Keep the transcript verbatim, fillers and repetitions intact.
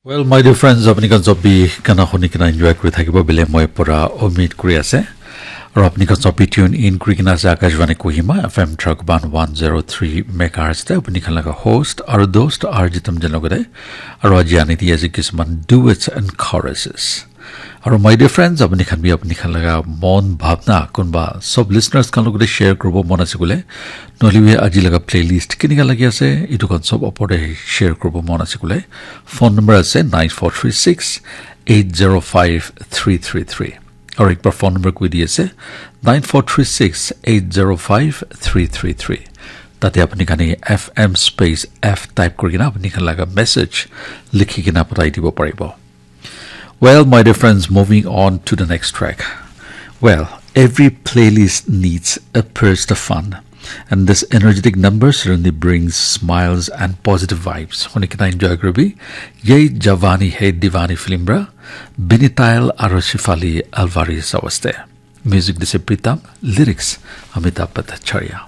Well, my dear friends, apni khan sob bi gana huni kena enjoy kuri thakibo bile moi pura umid kuri ase. Aru apni khan sob bi tune in kuri kena ase Akashvani Kohima F M Trakban one zero three megahertz te apni khan laga host aru dost R J Tamjen logate. Aru aji ani di ase kisuman duets and choruses. Aru my dear friends, apni khan bi apni khan laga mon bhabna kunba sob listeners khan logate share kuribo mon ase kule, nohole bi aji laga playlist kenika lagi ase, itu khan sob opor te share kuribo mon ase kule, phone number ase nine four three six eight zero five three three three. Aru ekbar phone number koi di ase nine four three six eight zero five three three three. Tate apni khan F M space F type kuri kena apni khan laga message likhi kena pathai dibo paribo. Well, my dear friends, moving on to the next track. Well, every playlist needs a burst of fun. And this energetic number certainly brings smiles and positive vibes. Huni kena enjoy kuribi. Ye Jawani Hai Diwani film ra, Binitail aru Shefali Alvarez awaste. Music dise Pritam, lyrics Amitabh Bhattacharya.